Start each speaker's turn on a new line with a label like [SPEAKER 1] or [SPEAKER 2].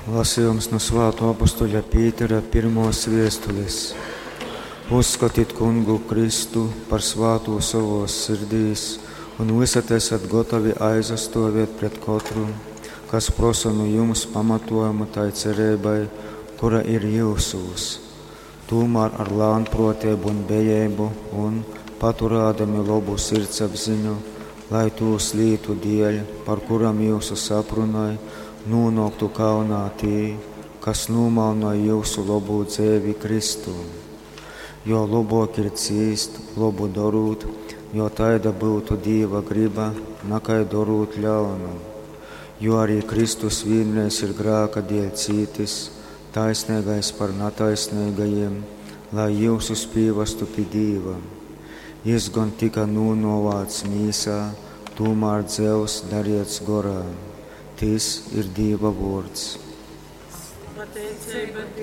[SPEAKER 1] Lasījums nu Svātō apostoļa Pītera pirmōs viestulis. Uzskotit Kungu Kristu par svātū sovōs sirdīs un vysod esat gotovi aizastōvēt pret kotru, kas prosa nu jums pamatojumu tai cereibai, kura ir jyusūs. Tūmār ar lānprōteibu un bejeibu un, paturādami lobu sirdsapziņu, lai tūs lītu dieļ, par kurom jyusus aprunoj, nūnōktu kaunā tī, kas nūmalnoj jyusu lobū dzeivi Kristū. Jo lobōk ir cīst, lobu dorūt, jo taida byutu Dīva gryba, nakai dorūt ļaunu. Jo arī Kristus vīnreiz ir grāka dieļ cītis, taisneigais par nataisneigajim, lai jyusus pīvastu pi Dīva. Jys gon tyka nūnōvāts mīsā, tūmār dzeivs dariets gorā. Tys ir Dīva vōrds.
[SPEAKER 2] Pateiceiba Dīvam.